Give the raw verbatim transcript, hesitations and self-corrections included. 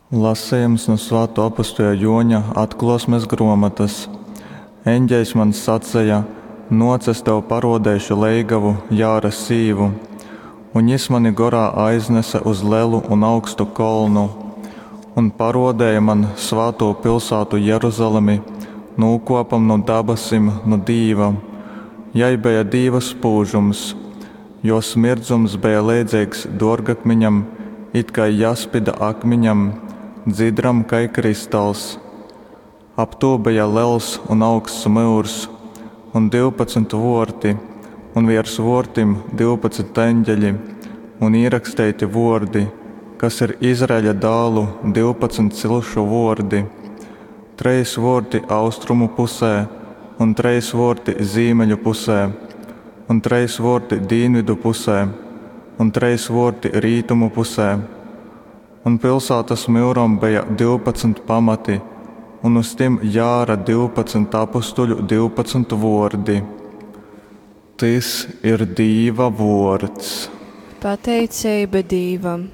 Lasejums nu Svātō apostuļa Jōņa atklōsmes grōmotas. Eņgeļs man saceja, Nōc, es tev parōdeišu leigavu, Jāra sīvu. Un jys mani gorā aiznese uz lelu un augstu kolnu, un parōdēja man svātū pilsātu Jeruzalemi nūkōpam nu dabasim, nu Dīva. Jai beja Dīva spūžums. Jōs mirdzums beja leidzeigs dōrgakmiņam, itkai jaspida akmiņam, dzidram kai kristals. Ap tū beja lels un augsts myurs, un divpadsmit vōrti, un viers vōrtim divpadsmit engeļi, un īraksteiti vōrdi, kas ir Izraeļa dālu divpadsmit cilšu vōrdi. Trejs vōrti austrumu pusē, un trejs vōrti zīmeļu pusē, un trejs vōrti dīnvidu pusē, un trejs vōrti rītumu pusē. Un pilsātas myuram beja divpadsmit pamati un uz tim Jāra divpadsmit apustuļu divpadsmit vōrdi. Tys ir Dīva vōrds. Pateiceiba Dīvam.